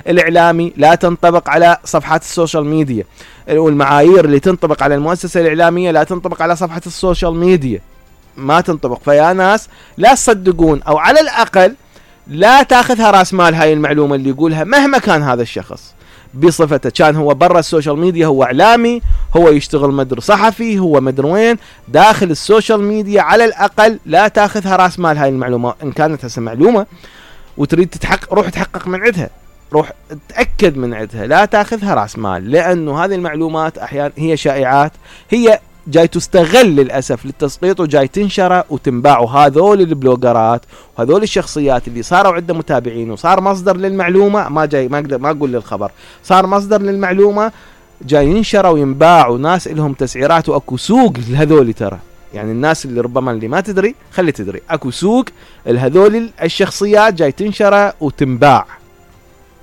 الاعلامي لا تنطبق على صفحات السوشيال ميديا، والمعايير اللي تنطبق على المؤسسة الاعلامية لا تنطبق على صفحة السوشيال ميديا، ما تنطبق. فيا ناس لا تصدقون، او على الاقل لا تاخذها راس مال هاي المعلومة اللي يقولها مهما كان هذا الشخص بصفته، كان هو برا السوشيال ميديا هو اعلامي، هو يشتغل مدر صحفي، هو مدر وين، داخل السوشيال ميديا على الاقل لا تاخذها راس مال هاي المعلومة. ان كانت هسه معلومة وتريد تتحقق، روح تحقق من عندها، روح تأكد من عندها، لا تاخذها راس مال، لانه هذه المعلومات احيانا هي شائعات، هي جاي تستغل للأسف للتسقيط وجاي تنشر وتنباع. وهذول البلوجرات وهذول الشخصيات اللي صاروا عنده متابعين وصار مصدر للمعلومة، ما اقدر ما اقول للخبر، صار مصدر للمعلومة، جاي ينشر وينباع، وناس لهم تسعيرات واكو سوق لهذول. ترى يعني الناس اللي ربما اللي ما تدري خلي تدري، اكو سوق لهذول الشخصيات جاي تنشر وتنباع.